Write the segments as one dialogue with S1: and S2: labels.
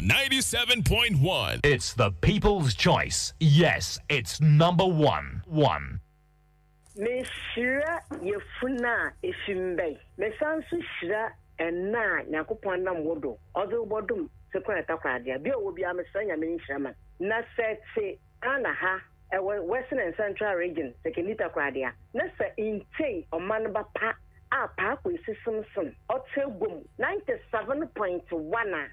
S1: 97.1.
S2: It's the people's choice. Yes, it's number one. One.
S3: Mehyira yafun a efi mba yi. Mesan so hyira ɛna a Nyankopɔn nam wo do ɔdze wo bɔdom Sekoraa Takoradi a. Bia ɔwɔ biara mesrɛ Nyame ne nhyira ma no. Na sɛ etse Ghana ha, ɛwɔ Western and Central Region, Sekondi Takoradi a, na sɛ inntsei ɔman ba pa a Paa Kwesi Simpson ɔtse egua mu 97.1 a,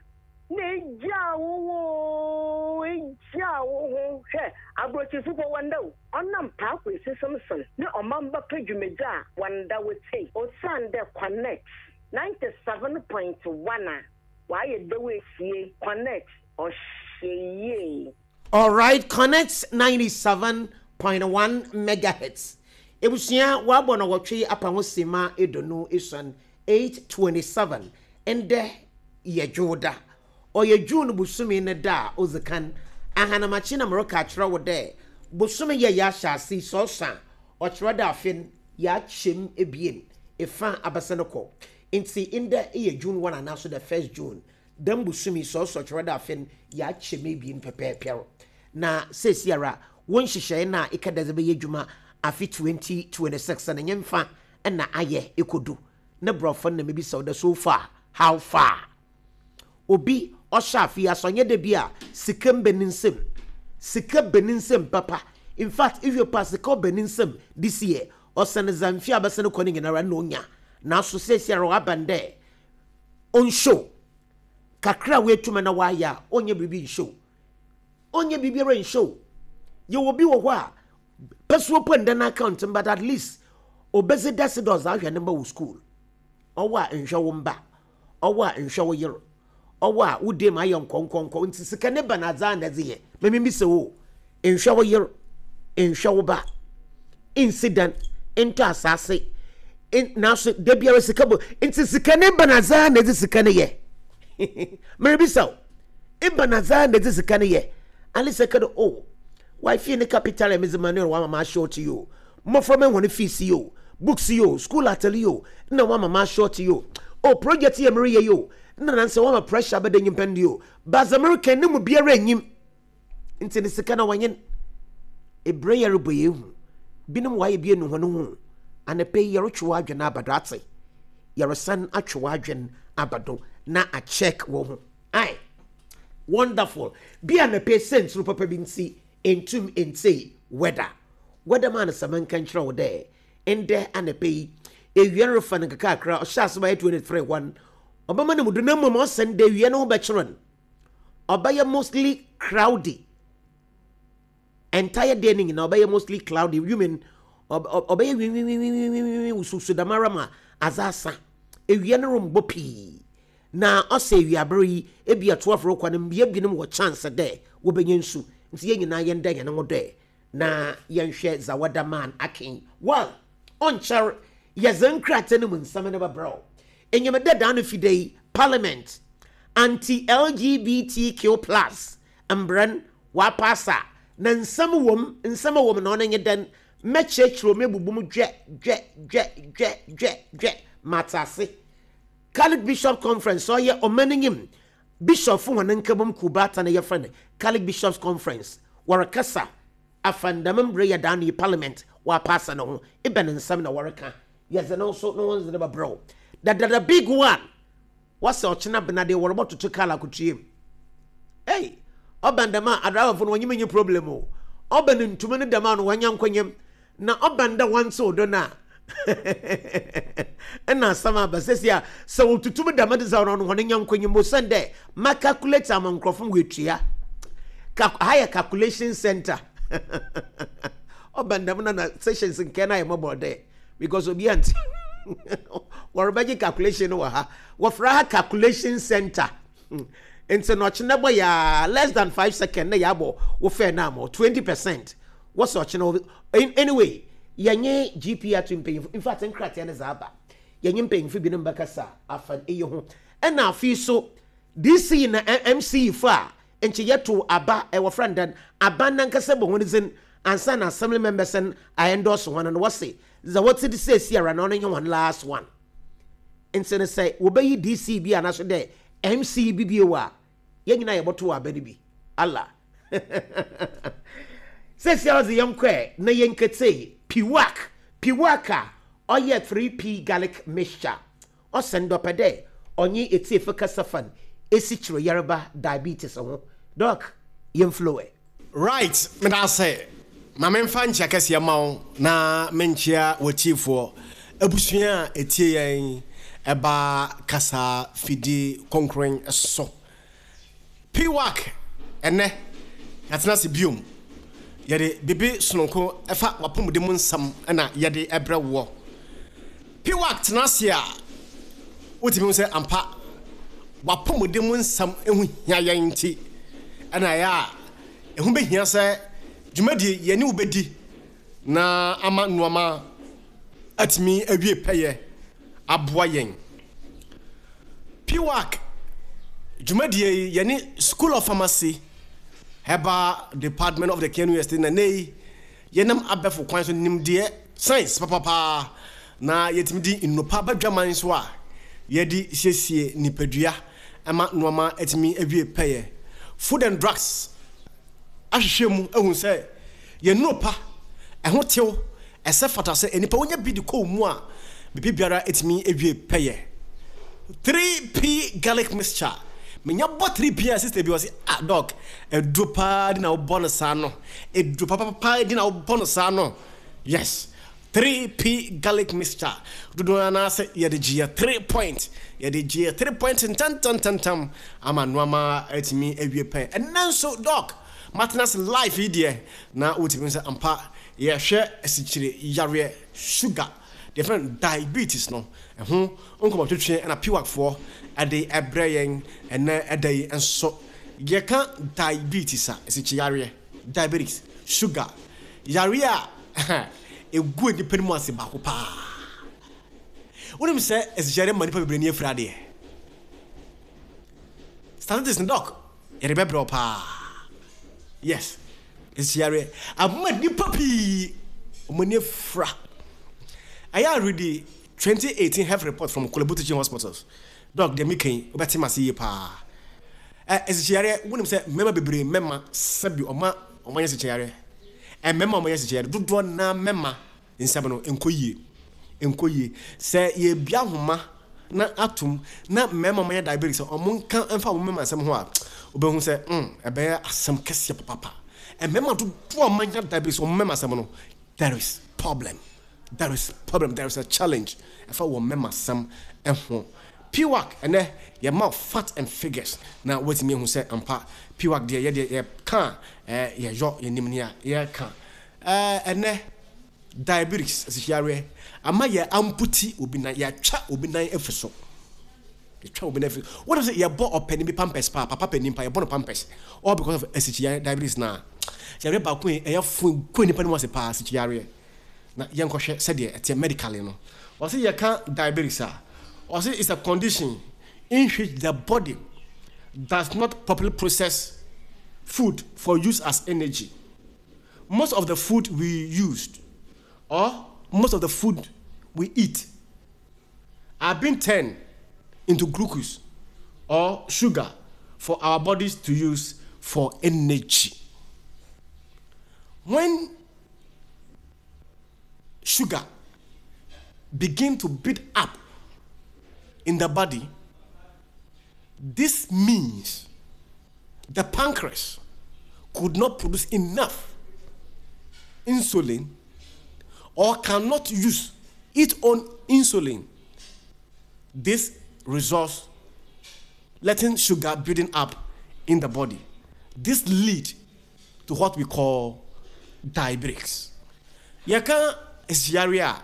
S3: na egyaa wo ho oo, egyaa wo ho. Hwɛ, aborɔkyirfo mpo wɔnnda o. Ɔnam Paa Kwesi Simpson ne ɔman ba pa dwumadzi a wɔnnda wotsie osiandɛ Connect 97.1 a wɔayɛ dɛw esie Connect ɔhyɛ yie.
S4: Alright Connect 97.1 megahertz Ebusua wɔabɔ nɔwɔtwe apa ho sema eduonu esuon, 8:27, Ndɛ yɛ Dwowda. Ɔyɛ June bosome ne da a odzi kan. Ahanamakye na mereka akyerɛ wo dɛ bosome yi a yɛahyɛ ase yi sɛ ɔsõ a, ɔkyerɛ dɛ afe no yɛakyɛ mu ebien, efã abɛsen kɔ. Ntsi ndɛ yɛ June 1 anaaso the first June. Dɛm bosoom yi sɛ ɔsɔ kyerɛ dɛ afe no yɛakyɛ mu ebien pɛpɛɛpɛr. Na seseiara wo nhyehyɛɛ no a ekɛ dɛ edze bɛyɛ edwuma afe 2026 no nyimfa na ayɛ ekodu ne borɔfo no na mibisa wo dɛ so far how far? Obi ɔhyɛ afe yi ase ɔnnyɛ dɛ bi a sika mba ne nsamu, sika ba ne nsamu papa, infact ehwɛ mpo a sika ɔba ne nsamu this year ɔsen dza mfe a abɛsen kɔ no nyinara nna onya naaso seseiara ɔaba no dɛ ɔnhyɛ o, kakra a woetum na wɔayɛ a, ɔnyɛ biribi nhyɛ o. Ɔnyɛ biribiara nhyɛ o. Yɛwɔ bi wɔ hɔ a, pɛsoɔ po nda n'account mu but at least obedzi dase dɛ ɔdze ahwɛ ne mba wɔ school. Ɔwɔ a nhwɛ wo mba, ɔwɔ a nhwɛ wo yer, ɔwɔ a wo dan mu ayɛ nkɔnkɔnkɔ ntsi sika ne ba na adze a na edze yɛ. Ma mimbisa wo o, nhwɛ wo yer, nhwɛ wo ba, nnsi dan, nntɔ asaase, naaso da biara sika bɔ ntsi sika no ebɛnadze ara na edze sika no yɛ? Merebisa wo, ebɛnadze ara na edze sika no yɛ? Alisa ka dɛ, oh, wifey ne capital a medze ma no no ɔama m'ashort yi o, mboframba hɔn fees yi o, books yi o, skuul atar yi o, nna ɔama m'ashort yi o, oh, project yi a mereyɛ yi o, nna nansɛ ɔama pressure abɛda nyimpa no do yi o, but dza mereka yi no mu biara nnyim. Ntsi ne sika na wɔnye no ebrɛ yɛrobɔ yeehu binom wɔayɛ bi enu hɔn ho. Anapa yi yɛrotwe w'adwen aba do atse? Yɛresan atwe w'adwen aba do na acheck wo ho. Aye. Wonderful. Bi anapa yi siantsir papa bi ntsi enntum nntsei weather. Weather man sɛ menka nkyerɛ wo dɛ ndɛ anapa yi ewia no refa no nkakrankra ɔhyɛ ase bɛyɛ 23 hɔ no ɔbɛma no mu do na mbom ɔsɛ ndɛ ewia no ho bɛkyerɛ no. ɔbɛyɛ mostly crowdy entire day no nyinaa ɔbɛyɛ mostly cloudy you mean ɔbɛyɛ winwinwinwinwinwin wusuwusu dɛm ara ma adze asa ewia no rombɔ pii na ɔsɛ ewiaber yi ebi a 12 rokɔ no mbea binom wɔ chance dɛ wɔbɛnya nsu nti yɛn nyinaa yɛnda hɛn ho dɛ na yɛnhwɛ dza wɔda man ake well ɔnnkyɛr yɛdze nkrataa no mu nsɛm no bɛbrɛ wo. Enyim dɛ da no fi da yi Parliament anti-LGBTQ plus mbra no wɔapass a, na nsɛm wɔ mu, nsɛm a ɔwɔ mu no ɔno nye dɛn? Mɛkyerɛkyerɛw mu ebubu mu dwɛ dwɛ dwɛ dwɛ dwɛ dwɛ matse ase. Catholic Bishops Conference ɔyɛ ɔman enyim bishopfo hɔn nkabom kuw baatan a yɛfrɛ no Catholic Bishops Conference wɔrekasa afa ndɛm mbrɛ yɛ da no yi Parliament wɔapass no ho, ebɛn nsɛm na wɔreka? Yɛdze no so no ho ndze no bɛbrɛ wo. Dada the big one wɔsɛ ɔkyena bena deɛ wɔrebɔtoto kaar akotua mu. Ei, ɔbɛn dɛm a adriverfo no wɔnye me nye problem o. Ɔbɛn ntumi no dɛm a no wɔanya nkɔnyam. Na ɔbɛn dɛ wɔntsew do no a nna asɛm aba. Sɛsi a sɛ wotutu me dɛm dze a ɔno hɔn nya nkɔnyam osiandɛ ma calculate ama nkorɔfo ma woetua. Ka ha yɛ calculation center. Ɔbɛn dɛm no na sessions nkɛɛ no ayɛ mɔbɔr dɛ. because obi ante wɔrebɛgye calculation no wɔ ha wɔfrɛ ha calculation center nti na ɔkyena bɔ yaa less than 5 second na yɛabɔ wo fɛ no amɔ 20% wɔsɛ ɔkyena. Anyway, yɛnye GP ato mpanyimfo, in fact nkrataa no dza aba, yɛnye mpanyimfo binom bɛkasa afa eyi ho. Ɛna afei so DC na MC fo a nkyɛ yɛto aba, wɔfrɛ no dɛn, aban nankasa bɔ hɔn dzin ansa na assembly members no a endorse hɔn no, wɔse dza wɔtse de seesie ara na ɔno nye hɔn last one. Nti no sɛ wɔbɛyi DC bi anaso dɛ MC bi bio a. Yɛn nyinaa yɛbɔto aba no bi. Allah. Sɛsi ara dze yɛnkɔ ɛ na yɛnkɛtsei Piwak. Piwak a ɔyɛ 3P garlic mixture. Ɔsɛn dɛ ɔpɛ dɛ ɔnye etsiefo kasa fa n' esikyire yarba, diabetes, ho. Doc, yɛmflow ɛ.
S1: Right, medase. Ma memfa nkyea kɛseɛ mma wo na menkyea w'atiefoɔ, abusua a ɛtie yɛn ɛba kasa fidie kronkron so. PWAC, ɛnnɛ yɛatena ase biom. Yɛde biribi sononko ɛfa w'apɔmuden mu nsɛm na yɛde ɛbrɛ woɔ. PWAC tena ase a, wotumi hu sɛ ampa w'apɔmuden mu nsɛm ho hia yɛn nti ɛna ɛyɛ a ɛho bɛhia sɛ dwumadie yɛne wo bɛdi na ama nnoɔma atumi awie pɛyɛ aboa yɛn. PWAC dwumadie yi yɛne School of Pharmacy Herbal Department of the Kenya University na nnɛ yi yɛnam abɛfo kwan so nimdeɛ science papapaa na yɛtumi di nnopa badwaman so a yɛde siesie nipadua ma nnoɔma atumi awie pɛyɛ. Food and Drugs ahwehwɛ mu ahu sɛ yɛn nnuro pa, ɛho tew, ɛsɛ fata sɛ nnipa wonya bi de kɔ wo mu a, biribi biara tumi wie pɛyɛ. 3P garlic mixture. Menya bɔ 3P a sister bi ɔse, ah doc, aduro paa di na wobɔ no saa no. Aduro papapaa di na wobɔ no saa no. Yes. 3P garlic mixture. Dodoɔ no ara sɛ yɛde gye yɛ 3 point. Yɛde gye yɛ 3 point ntɛntɛntɛntɛm ama nnoɔma atumi awie pɛn. Ɛnnɛ nso doc, matena ase life yi deɛ na wotumi hu sɛ ampa yɛhwɛ asikyire yareɛ, sugar, deɛ yɛfrɛ no diabetes no, ɛho nkɔmmɔtwetwe na PWAC foɔ de ɛbrɛ yɛn ɛnnɛ ɛda yi nso. Yɛka diabetes a, asikyire yareɛ, diabetics, sugar, yareɛ a ɛgu nnipa no mu ase baako paa. Wonim sɛ asikyire yareɛ ma nnipa bebree ani afira adeɛ? Statistics no doc, yɛde bɛbrɛ wo paa. Yes, asikyire yareɛ ama nnipa pii wɔn ani afira. Ɛyɛ a read 2018 health report from Korle Bu Teaching Hospitals. Doc, deɛ meka yi, wobɛte m'ase yie paa. Ɛ asikyire yareɛ, wonim sɛ mmarima bebree mmarima sɛbi ɔma wɔn anya asikyire yareɛ. Mmarima a wɔanya asikyire yareɛ dodoɔ naa mmarima nsɛm no nkɔ yie, nkɔ yie. Sɛ yɛbia ahoma na atom na mmarima a wɔanya diabetes sɛ wɔn nka mfa wɔn mmarima nsɛm ho a, wobɛhu sɛ mm ɛbɛyɛ asɛm kɛseɛ papapa. Mmarima dodoɔ a wɔanya diabetes wɔn mmarima asɛm no, there is problem. There is problem, there is a challenge ɛfa wɔn mmarima asɛm ho. PWAC ɛnɛ yɛma wo fact and figures na woatumi ahu sɛ ampa PWAC deɛ yɛdeɛ yɛka a yɛyɔ yɛnim nea yɛka. Ɛnɛ diabetes asikyirareɛ ama yɛ amputi obi nan, yɛatwa obi nan afi so. Yɛtwa obi nan afi so. Wonim sɛ yɛbɔ ɔpanin bi pampers paa, papa panin paa, yɛbɔ no pampers all because of asikyirareɛ diabetes na yareɛ baako yi ɛyɛ fo gu nipa no mu ase paa asikyirareɛ. Na yɛnkɔhwɛ sɛdeɛ ɛteɛ medically no. Ɔse yɛka diabetes a, ɔse it's a condition in which the body does not properly process food for use as energy. Most of the food we used or most of the food we eat are being turned into glucose or sugar for our bodies to use for energy. When sugar begin to build up in the body, this means the pancreas could not produce enough insulin or cannot use its own insulin. This results letting sugar building up in the body. This lead to what we call diabetes. Yɛka asiyareɛ a,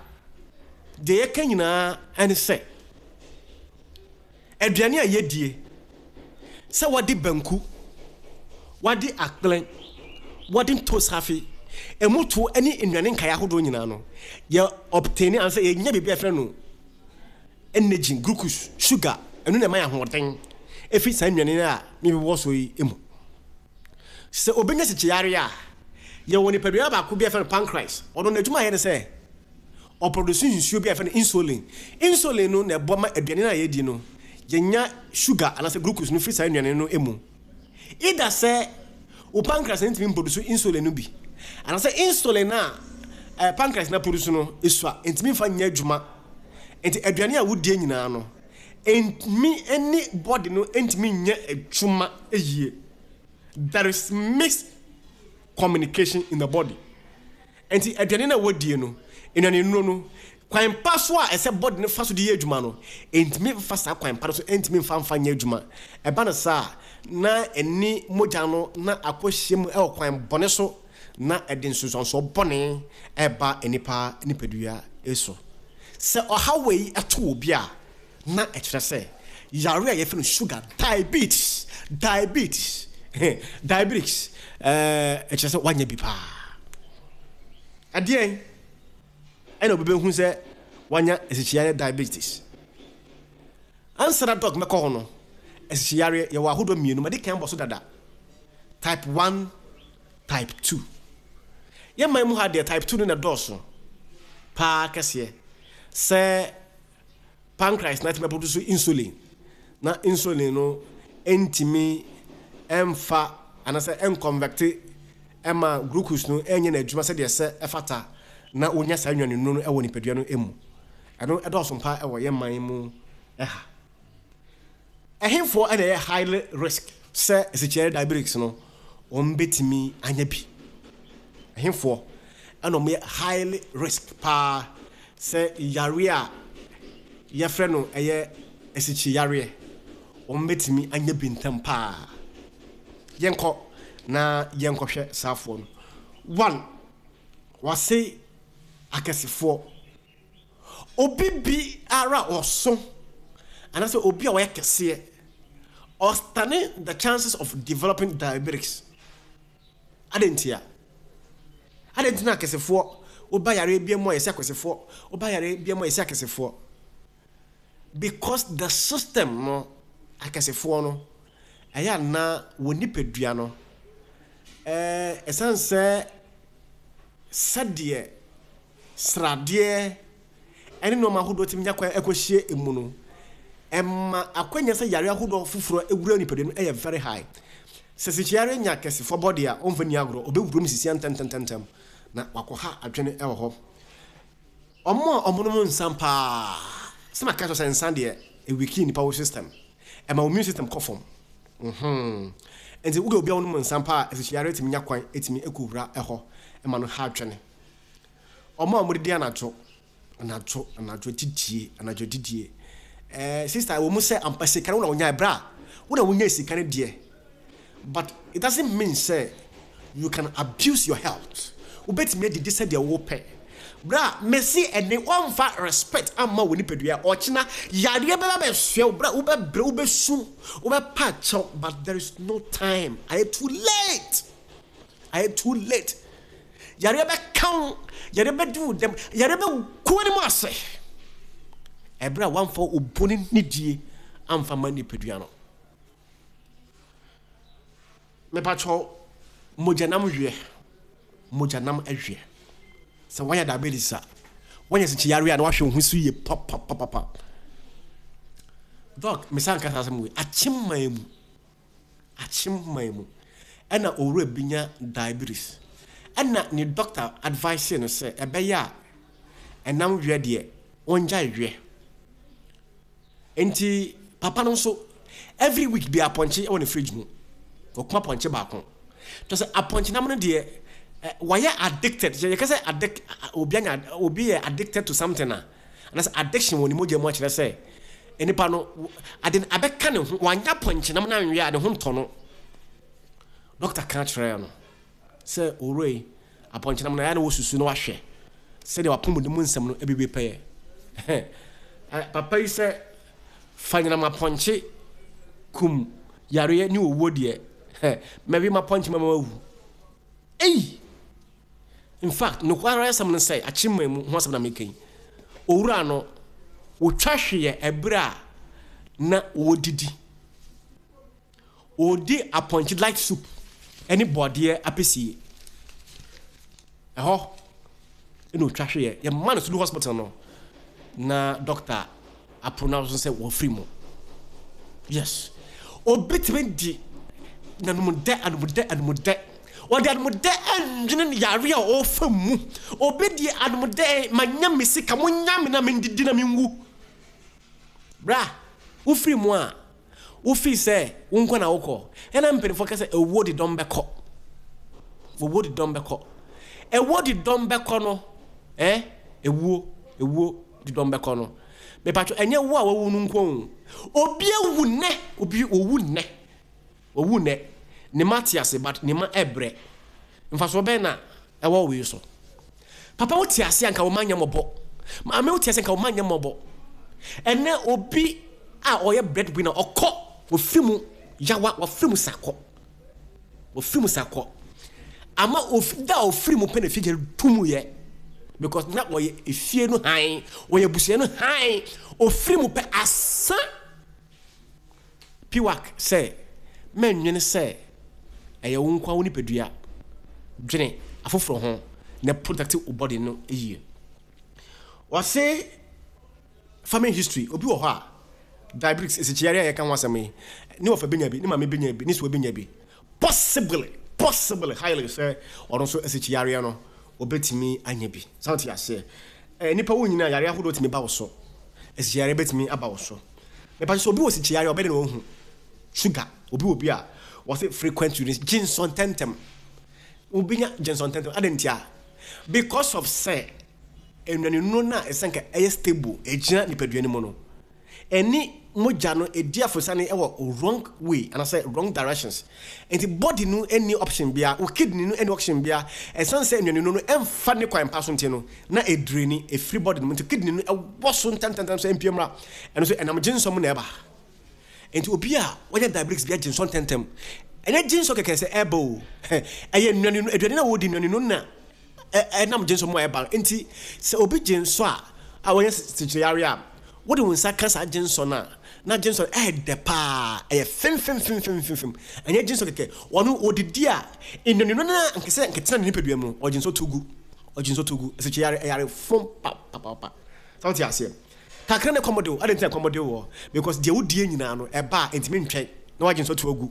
S1: deɛ yɛka nyinaa ɛne sɛ aduane a yɛdie, sɛ wɔde banku, wɔde akplɛ, wɔde ntoosi emu to ne nnuane nkaeɛ ahodoɔ nyinaa no, yɛ obtain anaasɛ yɛnya biribi a yɛfrɛ no energy, glucose, sugar, ɛno na ɛma yɛ ahoɔden ɛfiri saa nnuane a mebobɔ so yi mu. Sɛ obi nya sikyiyareɛ a, yɛwɔ nipadua baako bi a yɛfrɛ no pancreas. Ɔno n'adwuma a ɛyɛ ne sɛ ɔproduce nsuo bi a yɛfrɛ no insulin. Insulin no na ɛboa ma aduane no a yɛdi no, yɛnya sugar anaasɛ glucose no firi saa nnuane no mu. Either sɛ wo pancreas no ntumi mproduce insulin no bi, anaasɛ insulin no a eh, pancreas no aproduce no esua, ntumi mfa nyɛ adwuma. Nti aduane a wodie nyinaa no, ntumi ne body no ntumi nyɛ adwuma yie. There is miscommunication in the body. Enti aduane no a wɔdie no, nnuanennuro no, kwan pa so a ɛsɛ body no fa so de yɛ adwuma no, ɛntumi mfa saa kwan pa no so ɛntumi mfa mfa nyɛ adwuma. Ɛba no saa a, na ɛne mogya no na akɔhyia mu wɔ kwan bɔne so na ɛde nsunsuansoɔ bɔne ɛreba nnipa nipadua so. Sɛ ɔhaw wei to obi a, na ɛkyerɛ sɛ yare a yɛfrɛ no sugar diabetes, diabetes, diabetes, ɛɛ ɛkyerɛ sɛ wanya bi paa. Ɛdeɛn ɛna obi bɛhu sɛ wanya asikyiyare diabetes? Ansa na dɔk mɛkɔ hɔ no, asikyiyare yɛwɔ ahodoɔ mmienu, madi kan bɔ so dada, type 1, type 2. Yɛn man mu ha deɛ type 2 no na ɛdɔɔso paa kɛseɛ sɛ pancreas no atumi aproduce insulin na insulin no ntumi mfa anaasɛ ɛnconverte ɛma glucose no ɛnyɛ n'adwuma sɛdeɛ ɛsɛ ɛfata na wonya saa nnuane nnuro no ɛwɔ nipadua no mu. Ɛno ɛdɔɔso mpa ɛwɔ yɛn man mu ɛha. Ɛhefoɔ na ɛyɛ highly risk sɛ asikyerɛ diabetics no wɔn bɛtumi anya bi? Ɛhefoɔ na wɔn yɛ highly risk paa sɛ yareɛ a yɛfrɛ no ɛyɛ asikyi yareɛ wɔn bɛtumi anya bi ntɛm paa? Yɛnkɔ na yɛnkɔhwɛ saafoɔ no. One, wɔase akɛsefoɔ. Obi bi ara a ɔso anaasɛ obi a ɔyɛ kɛseɛ, ɔstane the chances of developing diabetics. Adɛn ntia? Adɛn nti na akɛsefoɔ woba yareɛ bi mu a yɛsɛ akɛsefoɔ, woba yareɛ bi mu a yɛsɛ akɛsefoɔ? Because the system no, akɛsefoɔ no, ɛyɛ ana wɔn nipadua no, ɛɛ ɛsan sɛ sɛdeɛ sradeɛ ne nnoɔma ahodoɔ tumi nya kwan kɔhyia mu no, ɛma akwanya sɛ yareɛ ahodoɔ foforɔ wura nipadua no yɛ very high. Sɛ sikyiyareɛ nya kɛsefoɔ bɔde a, ɔmfa nni agorɔ, ɔbɛwura mu sisia ntɛmntɛmntɛm na wakɔha adwene wɔ hɔ. Wɔn a wɔnom nsa paa, sɛ maka kyerɛ sɛ nsa deɛ, ɛwiki nipa wo system, ɛma wo immune system kɔ fam. Mm-hmm. Nti wode obi a wonom nsa paa a, sikyiyareɛ tumi nya kwan tumi kɔwura hɔ ma no ha adwene. Wɔn a wɔdidi anadwo, anadwo, anadwo didie, anadwo didie. Eh, sister, ɛwɔ mu sɛ ampa sika no wo na wonyae, bra, wo na wonyae sika no deɛ, but it doesn't mean sɛ you can abuse your health. Wobɛtumi adidi sɛdeɛ wopɛ. Bra, mese ɛne wɔmfa respect amma wo nipadua, ɔkyena yareɛ bɛba bɛsoɛ wo, bra, wobɛbrɛ, wobɛsu, wobɛpa kyɛw, but there is no time, ayɛ too late, ayɛ too late. Yareɛ bɛka wo, yareɛ bɛdi wo dɛm, yareɛ bɛgu w'anim ase. Ɛberɛ a woamfa obu ne nidie amfa ma nipadua no. Mepakyɛw, mogyanam weɛ, mogyanam weɛ. Sɛ woanya diabetes a, woanya sikyiyareɛ a na wahwɛ wo ho so yie papapapapa. Dɔk, mesan ka saa asɛm wei, akyem man mu. Akyem man mu ɛna owura bi nya diabetes ɛna ne doctor advice no sɛ ɛbɛyɛ a ɛnam weɛ deɛ ɔngyae weɛ. Nti papa no nso every week bi apɔnkye wɔ ne fridge mu. Ɔko apɔnkye baako. Kyerɛ sɛ apɔnkye nam no deɛ wayɛ addicted. Yɛka sɛ addict obi anya obi yɛ addicted to something a Anaasɛ addiction wɔ ne mogya mu akyerɛ sɛ nipa no ade no abɛka ne ho, wanya pɔnkyenam no anwe a ne ho ntɔ no. Dɔkta ka kyerɛɛ no sɛ owura yi apɔnkyenam no ɛyɛ na wɔsusu na wahwɛ sɛdeɛ wapɔmuden mu nsɛm no ɛbɛwie pɛyɛ. Papa yi sɛ fa nyinam apɔnkye kum yareɛ ne owuo deɛ mɛwe m'apɔnkye mɛma wawu. Ei! In fact, nokware asɛm ne sɛ, akyemma mu ho asɛm na meka yi, owura no, otwa hweeɛ ɛberɛ a na ɔredidi. Ɔredi apɔnkye light soup ne bɔɔdeɛ apɛsie. Ɛhɔ na ɔtwa hweeɛ. Yɛma no Sulu Hospital no, na dɔkta apronounce sɛ wɔfiri mu. Yes. Obi tumi di. N'anomdɛ, anomdɛ, anomdɛ. Ɔde anomdɛ ɛndwene yare a ɔrefa mu. Obi deɛ anomdɛ, manya me sika, monya me na mendidi na menwu. Bra, wofiri mu a, wofii sɛ wo nko na wokɔ. Ɛna mpanimfoɔ ka sɛ ɛwuo de dɔm bɛkɔ. Owuo de dɔm bɛkɔ. Ɛwuo de dɔm bɛkɔ no, eh, ɛwuo, ɛwuo de dɔm bɛkɔ no. Mepatwo, ɛnyɛ wo a wawu no nko o. Obi awu nnɛ, obi owu nnɛ. Owu nnɛ. Ne mma te ase but ne mma ɛbrɛ. Mfasoɔ bɛn na ɛwɔ wei so? Papa wo te ase a nka wo mma nyɛ mmɔbɔ. Maame wo te ase a nka wo mma nyɛ mmɔbɔ. Ɛnɛ obi a ɔyɛ bread winner ɔkɔ ofiri mu yawa wafiri mu sa kɔ. Wafiri mu sa kɔ. Ama ofi da a ofiri mu pɛ na efie gyere tum yɛ. Because na ɔyɛ efie no hann, ɔyɛ abusua no hann. Ofiri mu pɛ asa. Piwak sɛ, Mɛnnwene sɛ ɛyɛ wo nkoa wo nipadua, dwene afoforɔ ho na protect wo body no yie. Wɔse family history, obi wɔ hɔ a diabetes, esikyiyare a yɛka ho asɛm yi, ne wɔfa bɛnya bi, ne maame bɛnya bi, ne soa bɛnya bi. Possibly, possibly, highly sɛ ɔno nso asikyiyareɛ no ɔbɛtumi anya bi. Sɛ wote aseɛ? Eh, nipa wo nyina yareɛ ahodoɔ tumi ba wo so. Asikyiyareɛ bɛtumi aba wo so. Mepa sɛ obi wɔ sikyiyareɛ ɔbɛde na wahu. Sugar, obi wɔ bi a wɔse frequent urine, gye nsɔ ntɛntɛm. Wobɛnya gye nsɔ ntɛntɛm. Adɛn ntia? Because of sɛ nnuane no a ɛsɛ nka ɛyɛ stable, ɛgyina nipadua no mu no, Ɛne mogya no ɛdi afosane wɔ wrong way anasɛ wrong directions. Nti body no nni option biara, wo kidney no nni option biara, ɛsiane sɛ nnuaninu no ɛmfa ne kwan pa so nti no, na ɛdraini, ɛfiri body no mu, nti kidney no ɛwɔ so ntɛmntɛmntɛm sɛ ɛmpue mmra. Ɛno nso ɛnam gyensɔ mu na ɛba. Nti obi a wanya diabetes biara gyensɔ ntɛmntɛm. Ɛnyɛ gyensɔ kɛkɛ sɛ ɛba o, ɛyɛ nnuaninu, aduane no a wɔdi nnuaninu no na ɛnam gyensɔ mu a ɛba. Nti sɛ obi gyensɔ a, a wanya sikyireyareɛ a, Wode wo nsa ka saa gyensɔ no a, na gyensɔ no ɛyɛ dɛ paa, ɛyɛ femfemfemfemfem. Ɛnyɛ gyensɔ kɛkɛ. Ɔno ɔdidi a, nnuannuan no a nkɛsɛ nkɛtena ne nipadua mu no, ɔgyensɔ to gu. Ɔgyensɔ to gu. Ɛsɛ yare, ɛyare fom papapapa. Sɛ wote aseɛ? Kakra na ɛkɔm de wo. Adɛn nti na ɛkɔm de woɔ? Because deɛ wodie nyinaa no, ɛba a, ɛntumi ntwɛn na woagyensɔ to agu.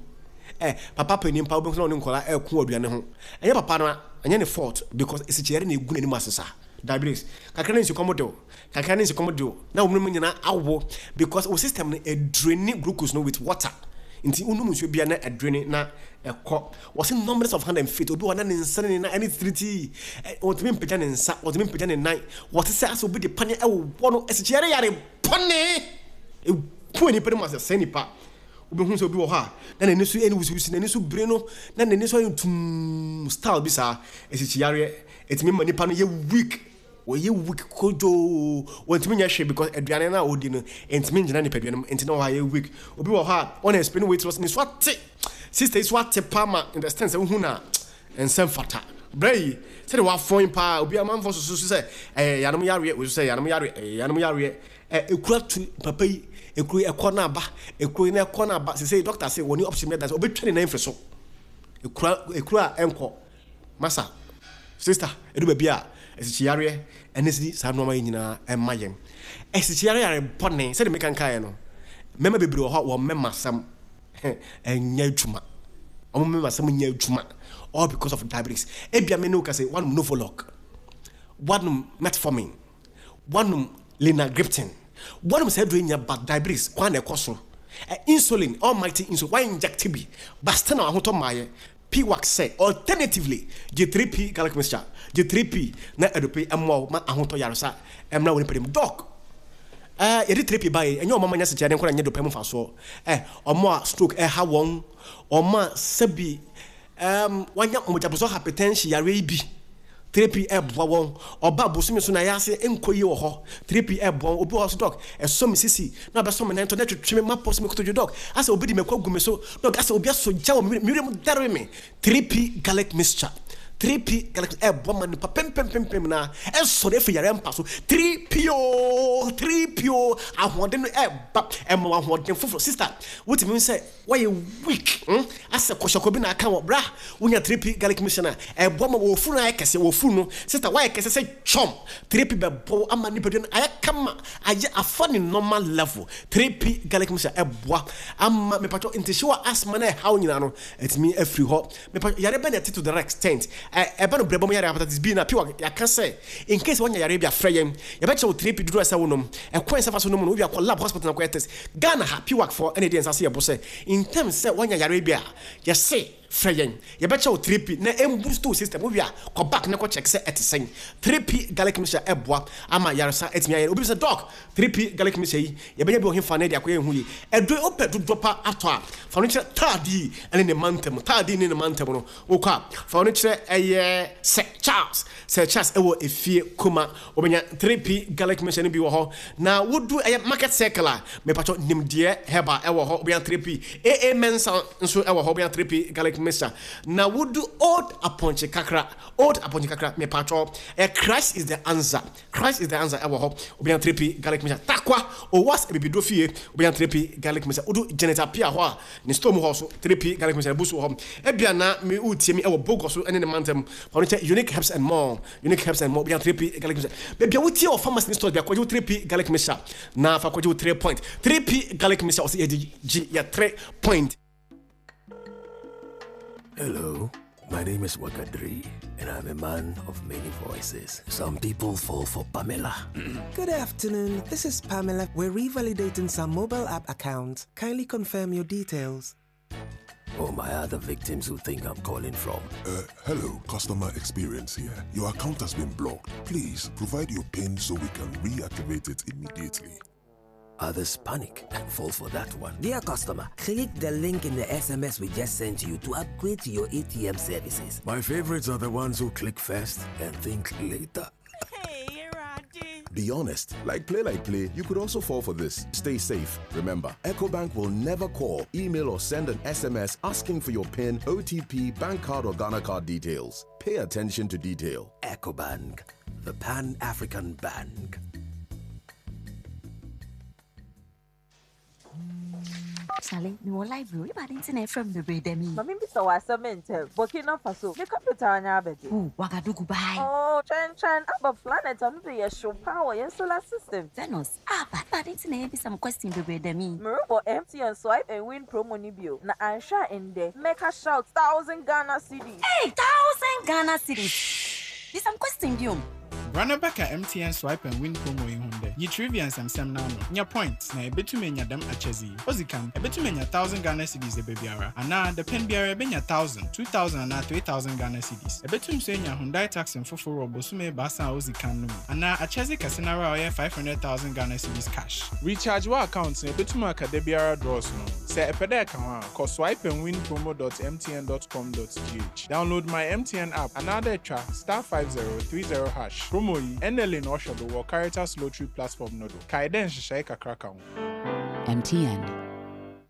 S1: Ɛ, papa panin paa, wobɛhu sɛ na ɔne nkwadaa ɛreko wɔ aduane ho. Ɛnyɛ papa no a, ɛnyɛ ne fault because asikyire na ɛgu n'anim ase saa. Diabetes. Kakra na nsukɔm de wo. Kakra ne nsukɔm de wo na wo nom nyinaa awo because wo system no ɛdraini glucose no with water nti wo nom nsuo bia na ɛdraini na ɛkɔ. Wɔse numbness of hand and feet, obi wɔ hɔ na ne nsa ne ne nan ɛne titiritii, ɔntumi mpagya ne nsa, ɔntumi mpagya ne nan, wɔte sɛ asɛ obi de paneɛ ɛwowɔ no, asikyire yare bɔne ɛku nipa no mu asɛ sɛe nipa. Wobɛhu sɛ obi wɔ hɔ a na n'ani so ɛne wusiwusi, n'ani so biri no na n'ani so ayɛ tumm style bi saa, asikyire yareɛ ɛtumi ma nipa no yɛ weak. Wɔyɛ weak kodwoo, wɔntumi nyɛ hwee because aduane no a wɔdi no ntumi ngyina nipadua no mu nti na wɔayɛ weak. Obi wɔ hɔ a ɔna explain weight loss ne so ate, sister yi so ate paa ma in the extent sɛ wohu no a ɛnsɛ mfata. Berɛ yi sɛdeɛ wafɔn paa obi amanfoɔ susu so sɛ ɛyɛ yanom yareɛ, wei so sɛ yanom yareɛ, ɛyɛ yanom yareɛ. Ɛ ekura tu papa yi, ekuro yi ɛkɔ na aba, ekuro yi na ɛkɔ na aba. Sesei doctor se wɔne option bi ada sɛ ɔbɛtwa ne nan mfiri so. Ekura ekuro a ɛnkɔ. Masa, sister, ɛdu baabi a asikyiyareɛ ɛne sidi saa nnoɔma yi nyinaa ɛma yɛn. Asikyiyareɛ yare bɔne, sɛdeɛ meka nkaeɛ no, mmarima bebree wɔ hɔ a wɔn mmarima asɛm ɛnyɛ adwuma. Wɔn mmarima asɛm nyɛ adwuma all because of diabetes. Ebia me ne wo ka sɛ woanom Novolog, woanom metformin, woanom linagliptin, woanom saa aduro yi nyinaa but diabetes kwan na ɛkɔ so. Insulin, almighty insulin, wa inject bi but still na wahotɔ mmaeɛ. Piwak sɛ, Alternatively, gye 3P garlic mixture, gye 3P na adupe mmoa wo ma ahotɔ yaresa mmra wo nipadua mu. Doc, eh, yɛde 3P bae, ɛnyɛ wɔn a wɔanya sɛkyerɛde nko na ɛnyɛ dopɛ mu mfasoɔ. Eh, wɔn a stroke ɛha wɔn, wɔn a sɛbi, um, wɔanya mogyabosɔ hypertension yareɛ yi bi. 3P ɛboa wɔn. Ɔba bosome so na ɛyɛ ase nkɔ yie wɔ hɔ. 3P ɛboa wɔn. Obi wɔ hɔ so dɔk, ɛsɔ me sisi na abɛsɔ me nan to na ɛtwetwe me mapɔ so me kotodwe dɔk. Asɛ obi de mako agu me so dɔk, asɛ obi asɔ gya wɔ me werɛ mu dare me. 3P garlic mixture. 3P garlic ɛboa ma nipa pempempempem na ɛsɔre afiri yare mpa so. 3P o, 3P o, ahoɔden no ɛba, ɛma wo ahoɔden foforɔ. Sister, wotumi hu sɛ woayɛ weak, hmm, asɛ kɔhyɛkɔ bi na aka wɔ bra, wonya 3P garlic mixture no a, ɛboa ma wɔfuru no ayɛ kɛse, wɔfuru no, sister, woayɛ kɛse sɛ chɔm, 3P bɛbɔ wo ama nipadua no ayɛ kama, ayɛ afa ne normal level. 3P garlic mixture ɛboa ama, mepatwɔ, ntehyew a asthma no ɛhaw nyinaa no, atumi afiri hɔ. Mepa yare bɛn na ɛte to that extent? Ɛ ɛba no brɛbɔ mu yare hepatitis B na pii wɔ yɛaka sɛ in case wanya yare bi a frɛ yɛn yɛbɛkyerɛ wo 3P dodoɔ a ɛsɛ wonom ɛkwan a ɛsɛ fa so nom no wowie a kɔ lab hospital na kɔyɛ test Ghana ha PWAC foɔ ɛna ɛdi yɛn nsa ase yɛ bo sɛ in terms sɛ wanya yare bi a yɛse frɛ yɛn yɛbɛkyerɛ wo 3P na ɛmboost wo system wowie a kɔ back na kɔ check sɛ ɛte sɛn 3P garlic mixture ɛboa ama yaresa atumi ayɛ obi bisa doc 3P garlic mixture yi Yɛbɛnya bi wɔ hefa na yɛde akɔyɛ yɛn ho yie? Ɛdɔ yi, wopɛ dodoɔ pa atɔ a, fa no kyerɛ Taadii ne ne mantam. Taadii ne ne mantam no, wokɔ a, fa no kyerɛ ɛyɛ Sir Charles. Sir Charles wɔ efie Kuma. Wobɛnya 3P garlic mixture no bi wɔ hɔ. Na wodu ɛyɛ Market Circle a, mepakyɛw Nimdeɛ Herbal wɔ hɔ, wobɛnya 3P. AA Mensah nso wɔ hɔ, wobɛnya 3P garlic mixture. Na wodu Old Aponkye Kakra, Old Aponkye Kakra, mepakyɛw, ɛyɛ Christ is the answer. Christ is the answer ɛwɔ hɔ wobɛnya 3P garlic mixture Tarkwa Owas abibiduro fie wobɛnya 3P garlic mixture Wodu Janet Appiah hɔ a ne store mu hɔ so 3P garlic mixture abu so wɔ hɔ Ebia na me woretie me ɛwɔ Bogor so ɛne ne mantam fa no kyɛ Unique Herbs and More Unique Herbs and More wobɛnya 3P garlic mixture Baabi a wotie wɔ pharmacy ne stores bia kɔgye wo 3P garlic mixture na fa kɔgye wo 3 point 3P garlic mixture ɔsɛ yɛgye gye yɛ 3 point.
S5: Hello, my name is Wakadri, and I'm a man of many voices. Some people fall for Pamela.
S6: Good afternoon, this is Pamela. We're revalidating some mobile app accounts. Kindly confirm your details.
S5: Or my other victims who think I'm calling from.
S7: Uh, hello, customer experience here. Your account has been blocked. Please provide your PIN so we can reactivate it immediately.
S5: Others panic and fall for that one.
S8: Dear customer, click the link in the SMS we just sent you to upgrade to your ATM services.
S5: My favorites are the ones who click first and think later.
S9: Hey,
S10: Be honest. Like play, like play, you could also fall for this. Stay safe. Remember, EcoBank will never call, email, or send an SMS asking for your PIN, OTP, bank card, or Ghana card details. Pay attention to detail.
S5: EcoBank, the Pan African Bank.
S11: Charlie, me wɔ library. Ebade nti na ɛfrɛ me bebree dɛm yi?
S12: Ma mimbisa wo asɛm ntsɛm. Burkina Faso ne capital nye abɛdze?
S11: Ooh, Ouagadougou bye.
S12: Oh, twɛntwɛn, aba planet a no do yɛ hyew paa wɔ hɛn solar system.
S11: Venus, aba, ebade nti na ebisa me question bebree dɛm yi?
S12: Morobɔ MTN Swipe and Win promo no bio, na annhwɛ a ndɛ mɛka shout thousand Ghana cedis.
S11: Hey, thousand Ghana cedis! Bisa me question biom.
S13: Bra na bɛka MTN Swipe and Win promo yi ho ndɛ. Yi trivia nsɛmsɛm no ano, nya points, na ebetum enya dɛm akyɛdze yi. Odzi kan, ebetum enya thousand Ghana cedis dabiara, anaa dapɛn biara ebenya thousand, 2,000 anaa 3,000 Ghana cedis. Ebetum so enya Hyundai taxi fofor wɔ bosome ebiasa a odzi kan no mu, anaa akyɛdze kɛse noara a ɔyɛ 500,000 Ghana cedis cash. Recharge w'account na ebetum aka dabiara draws no ho. Sɛ epɛ dɛ eka ho a, kɔ swipeandwinpromo dot mtn dot com dot gh. Download My MTN app anaadɛ twa *5030 hash. Promo yi, NLA na ɔhwɛ do wɔ Caritas Lottery platform no do. Kae dɛ nhyehyɛe kakra ka ho.
S14: MTN.